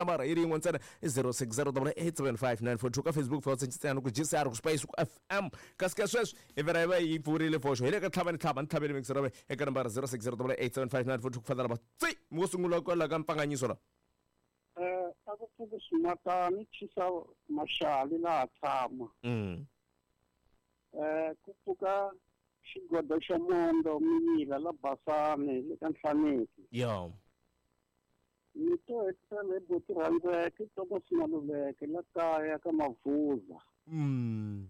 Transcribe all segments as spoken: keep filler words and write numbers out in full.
Nambara yi ri yin'we ntsena i zero six zero double eight seven five nine four two ka Facebook fa ntsena ku G C R ku Spice ku F M kasi ka sweswi hi vhela hi va yi pfurile foxo hi le ka tlhava ni tlhava ni tlhaveli mixer ra eka nambara zero six zero double eight seven five nine four two ku fana va tsi mo sungula kwala ka mpfanganyiso la eh a ku pfuki swimatani chisa maxali laha tshama mm eh ku pfuka xigodo xa mondo miyila la basani le ka Nhlaneki yo ni to hetisela hi buti rhandzeke toko Simaluleke la kaya ka Mavuza mm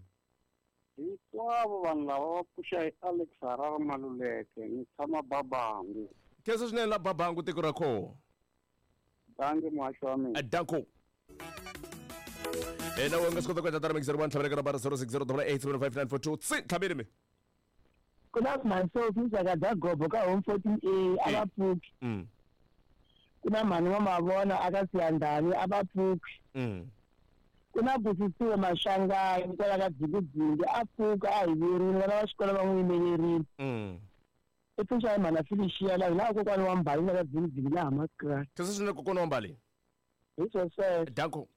hinkwavo vanhu lava va pfuxa hi Alex Harare Maluleke ni tshama Babangu khensa swinene la Babangu tiko ra kho dangi muhaxi wa mina danko ena u nga swi kota ku endla tara mix zero one tlhavela ka nambara zero six zero double eight seven five nine four two tsi tlhaveli mi ku na mhani Sophie Ndzhaka Gobo ka home fourteen A a va pfuki mm ku na mhani wa Mavona aka Siyandhani a va pfuki mm ku na Busisiwe Mashangayi kwala ka Dzikidzingi a pfuka a hi vuyerile vana va xikolo va n'wi yimelerile mm i pfuxa hi mhana Felicia laha laha kokwana wa Mbali la ka Dzikidzingi laha Mascrat khensa swinene kokwana wa Mbali hi swo sweswo danko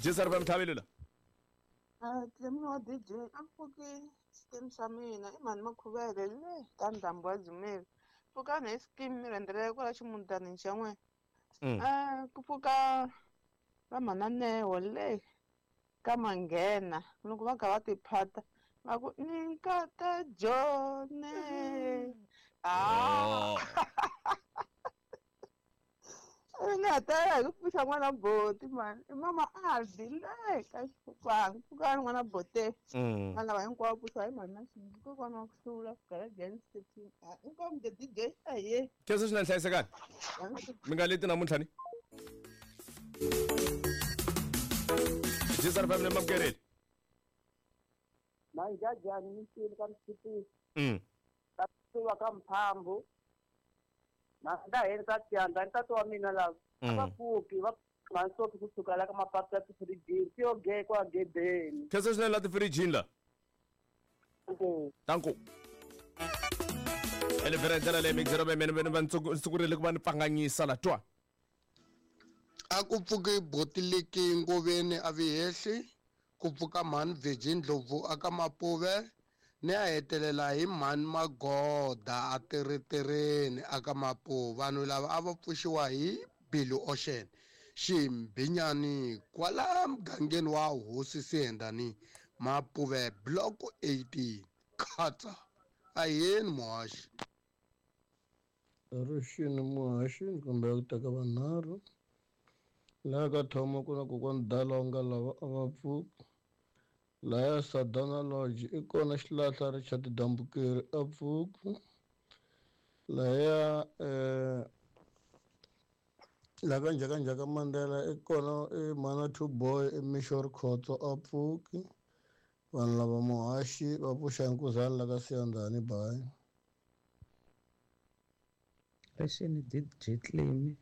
G C R F M tlhaveli la Clemmy wa D J a pfuki xikimu xa mina i mhani Makhuvele le ka ndhambi wa Dzumeri pfukani hi xikimu mi rhendzela kwala ximutanini xa n'wina mm ku pfuka va mhana le ka Manghena loko va kha va tiphata va ku ni nkata Jone ah ni nga ta hi ku pfuxa n'wana boti mani i mama Aldi le ka xipfukwana pfukani n'wana bote mm vanhu lava hinkwavo pfuxiwa hi mhani na Xingi kokwana wa ku hlula Garden City inkomu the D J aye khensa swinene hlayisekani mi nga leti namuntlha ni G C R F M ni mamukeleli manjajani misini ka Mtshipisi mm ka suva ka Mphambu na heni ka Siyandhani ntati wa mina lava a va pfuki va mhani Sophie kusuka la ka mapatu ya tifirijini ti yo ge kwa gedeni khensa swinene la tifirijini la danko ene vhela hi ndlela leyi mix zero mene vene va ndzi ku va ni pfanganyisa la twa a ku pfuki botiliki ngoveni a vihehli ku pfuka mhani Virgin Ndlovu aka Mapuve ni a hetelela hi mhani Magoda a tirhitirheni aka Mapuve vanhu lava a va pfuxiwa hi Billy Ocean Ximbinyani kwala mugangeni wa Hosi Siyendani Mapuve block eighteen khatsa aheni muhaxi Ruxini muhaxi ni kombela ku teka vanharhu laha ka Thoma ku na kokwani Dalonga lava a va pfuki laya Sadana Lodge i kona xilahla Richard Dambukeri a pfuki laya eh la ka Njhakanjhaka Mandela i kona i Mana Two Boy i Mishori Khotso a pfuki vanhu lava muhaxi va pfuxa nkuzani la ka Siyandhani bayi Rixini D J Clemmy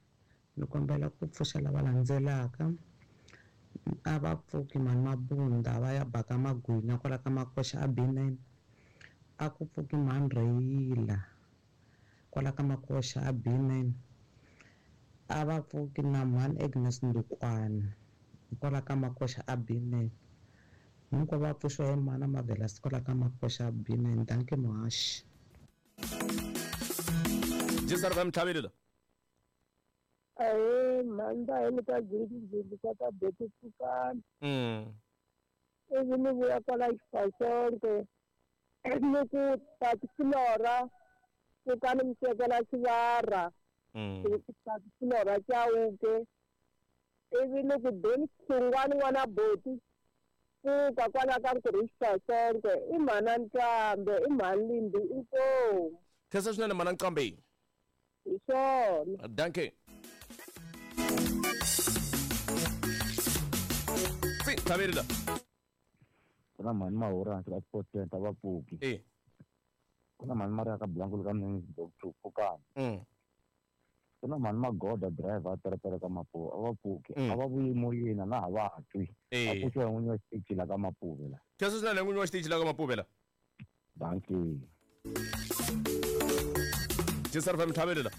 ni kombela ku pfuxa lava landzelaka a va pfuki mhani Mabunda va ya baka magwinya kwala ka Makoxa a B nine a ku pfuki mhani Reyila kwala ka Makoxa a B nine a va pfuki na mhani Agnes Ndukwana kwala ka Makoxa a B nine hinkwavo va pfuxiwa hi mhana Mavelas kwala ka Makoxa a B nine danke muhaxi G C R F M tlhaveli la ahe mhani va heni ka Dzikidzingi ka ka boti pfukani mm ivi ni vuya kwala Xifasonke ni ku Tati Flora pfukani mi tekela xivara mm Tati Flora Chauke ivi ni ku Deni Xingwani n'wana boti pfuka kwala ka Nkurhi Xifasonke i mhana Nqambe i mhani Limbi inkomu khensa swinene mhana Nqambe hi swona danke tsi tlhaveli la ku na mhani Mahura hansi ka Sport Center va pfuki e ku na mhani Maria ka Blankulu ka Mnini Doctor pfukani mm ku na mhani Magoda driver a teretere ka Mapuve a va pfuki Mm. a va vuyi moyeni na ha va twi Eh. a pfuxiwa hi n'winyi wa xitichi la ka Mapuve la khensa swinene n'winyi wa xitichi la ka Mapuve la danke G C R F M tlhaveli la